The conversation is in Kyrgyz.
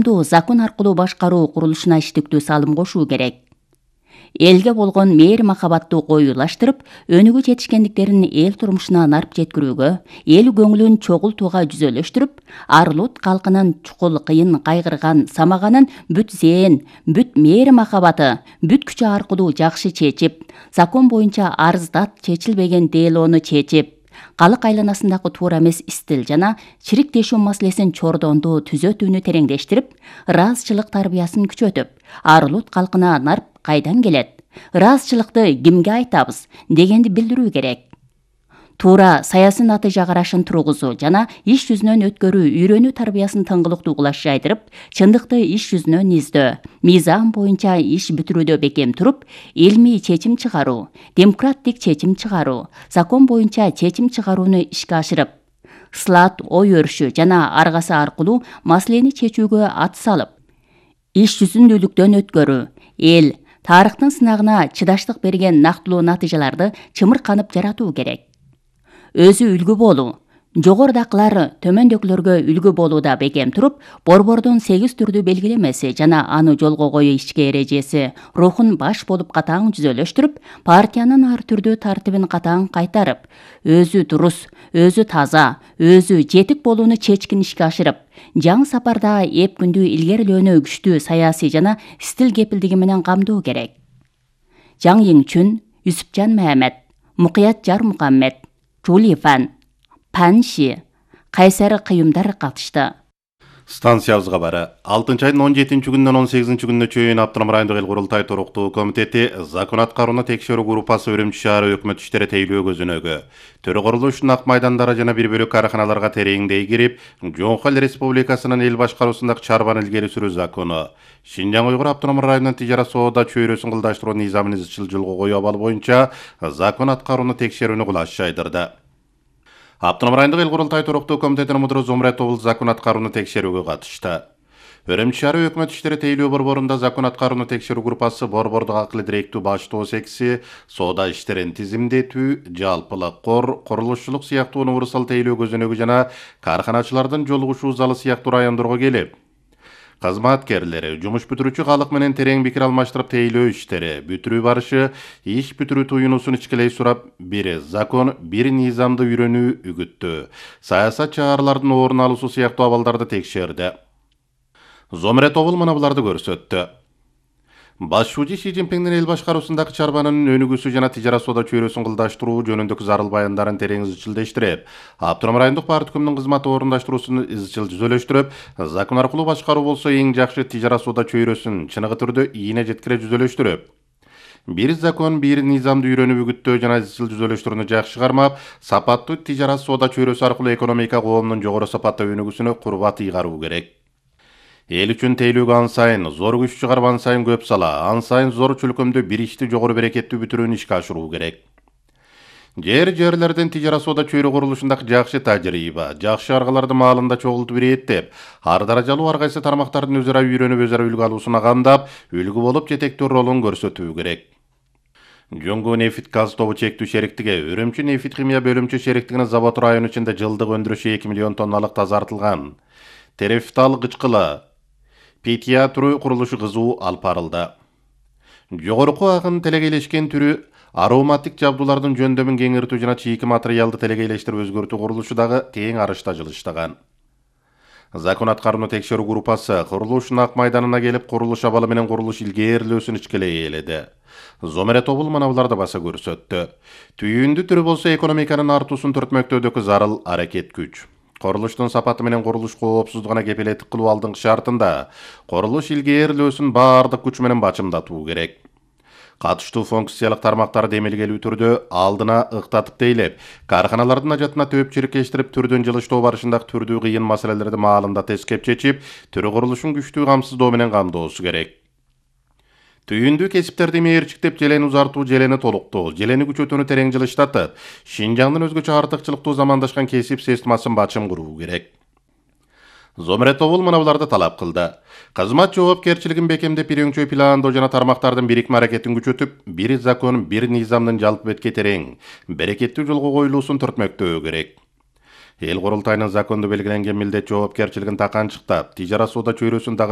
коомду закон аркылуу башкаруу курулушуна иштиктүү салым кошуу керек. Элге болгон мээри махабаттуу коюлаштырып, өнүгүү жетишкендиктерин эл турмушуна нарп жеткирүүгө, эл көңүлүн чогултууга жүзөлөштүрүп, Арлут калкынын чукул кыйын кайгырган самаганын бүт зээн, бүт мээри махабаты, бүт күчү аркылуу жакшы чечип, закон боюнча арыздат чечилбеген делоону чечип, калык айланасындагы туура эмес истил жана чириктешүү маселесин чордондуу түзөтүүнү тереңдештирип, ыраазычылык тарбиясын күчөтүп, Арлут калкына нарп кайдан келет? Ыраазычылыкты кимге айтабыз дегенди билдирүү керек. Туура саясий натыйжа карашын тургузуу жана иш жүзүнөн өткөрүү үйрөнүү тарбиясын тыңгылыктуу кулаш жайдырып, чындыкты иш жүзүнөн издөө, мыйзам боюнча иш бүтүрүүдө бекем туруп, илмий чечим чыгаруу, демократик чечим чыгаруу, закон боюнча чечим чыгарууну ишке ашырып, слат ой өрүшү жана аргасы аркылуу маселени чечүүгө ат салып, иш жүзүндүүлүктөн өткөрүү, эл тарыхтын сынагына чыдаштык берген нактылуу натыйжаларды чымырканып жаратуу керек. Өзү үлгү болуу, жогорудакылар төмөндөгүлөргө үлгү болууда бекем туруп, борбордун 8 түрдүү белгилемеси жана аны жолго коюу ишке эрежеси рухун баш болуп катаң жүзөлөштүрүп, партиянын ар түрдүү тартибин катаң кайтарып, өзү турус, өзү таза, өзү жетик болууну чечкин ишке ашырып, жаңы сапарда эп күндүү илгерилөөнү күчтүү саясий жана стил кепилдиги менен камдоо керек. Жаң Йиңчүн, Юсупжан Мамед, Мукият Жармухаммед, Чули Фан, Панши, кайсары кыюмдар катышты. Станциябызга бары 6 айдын 17 күнүнөн 18 күнүнө чейин Автоном райондук эл курултай туруктуу комитети закон аткарууну текшерүү группасы Үрүмчү шаары өкмөт иштери тейлөө көзүнөгү төрө курулуштун ак майдандары жана бир бөлөк караханаларга тереңдей кирип, Жоңку Эл Республикасынын эл башкаруусундагы чарбаны илгери сүрүү закону, Шинжаң Уйгур автоном районунун тижара соода чөйрөсүн кылдаштыруу низамын изчил жолго коюу абалы боюнча закон аткарууну текшерүүнү кулаш жайдырды. Автоном райондук эл курултай туруктуу комитетинин мудуру Зумрет Обул закон аткарууну текшерүүгө катышты. Үрүмчү шаары өкмөт иштери тейлөө борборунда закон аткарууну текшерүү группасы борбордук акылы директүү баштоо секси, соода иштерин тизимдетүү, жалпылык кор, курулушчулук сыяктуу универсал тейлөө көзөнөгү жана карханачылардын жолугушуу залы сыяктуу райондорго келип, кызматкерлери, жумуш бүтүрүүчү калык менен терең пикир алмаштырып тейлөө иштери, бүтүрүү барышы, иш бүтүрүү туюнуусун ичкилей сурап, бир закон, бир низамды үйрөнүү үгүттөө, саясат чыгарылардын орун алуусу сыяктуу абалдарды текшерди. Зомрет Обул мына буларды көрсөттү. Башчы Си Цзиньпиңдин эл башкаруусундагы чарбанын өнүгүүсү жана тижара соода чөйрөсүн кылдаштыруу жөнүндөгү зарыл баяндарын терең изчилдештирип, Автоном райондук парткомдун кызматы орундаштыруусун изчил жүзөлөштүрүп, закон аркылуу башкаруу болсо эң жакшы тижара соода чөйрөсүн чыныгы түрдө ийне жеткире жүзөлөштүрүп, бир закон, бир низамды үйрөнүп үгүттөө жана изчил жүзөлөштүрүүнү жакшы кармап, сапаттуу тижара соода чөйрөсү аркылуу экономика коомдун жогору сапаттуу өнүгүүсүнө курбат ыйгаруу керек. Эл үчүн тейлүүгө ан сайын зор күч чыгарып ан сайын көп сала, ан сайын зор чөлкөмдө бир ишти жогору берекеттүү бүтүрүүнү ишке ашыруу керек. Жерлерден тижара соода чөйрө курулушундагы жакшы тажрыйба, жакшы аргаларды маалында чогултуп иреттеп, ар даражалуу ар кайсы тармактардын өзара үйрөнүп, өзара үлгү алуусуна кандап, үлгү болуп жетектөө ролун көрсөтүү керек. Жоңгу нефть газ тобу чектүү шериктиги Үрүмчү нефть химия бөлүмчө шериктигинин завод району ичинде жылдык өндүрүшү 2 миллион тонналык тазартылган терефтал кычкылы Петия түрү курулушу кызуу алып барылды. Жогорку агын телегейлешкен түрү ароматик жабдуулардын жөндөмүн кеңиртүү жана чийки материалды телегейлештирип өзгөртүү курулушу дагы тең арышта жылыштаган. Закон аткарууну текшерүү группасы курулуштун ак майданына келип, курулуш абалы менен курулуш илгерилөөсүн ичкилей ээледи. Зомрет Обул мына буларды баса көрсөттү. Түйүндү түрү болсо экономиканын артуусун төртмөктөөдөгү зарыл аракет күч. Курулуштун сапаты менен курулуш коопсуздугуна кепилеттик кылуу алдыңкы шартында курулуш илгерилөөсүн баардык күч менен бачымдатуу керек. Катыштуу функциялык тармактарды эмелгелүү түрдө алдына ыктатып тейлеп, карханалардын ажатына төпчүркештирип, түрдөн жылыштоо барышындагы түрдүү кыйын маселелерди маалында тескеп чечип, түрү курулушун күчтүү камсыздоо менен камдоосу керек. Түйүндүү кесиптерди мээрчиктеп, желени узартуу, желени толуктоо, желени күчөтүүнү терең жылыштатып, Шинжаңдын өзгөчө артыкчылыктуу замандашкан кесип системасын бачым куруу керек. Зомрет Обул мына буларды талап кылды. Кызмат жоопкерчилигин бекемдеп, бир өңчөй пландоо жана тармактардын бирикме аракетин күчөтүп, бир закон, бир низамдын жалпы бетке терең, берекеттүү жолго коюлуусун төртмөктөө керек. Эл курултайынын закондо белгиленген милдет жоопкерчилигин таканчыктап, тижара соода чөйрөсүн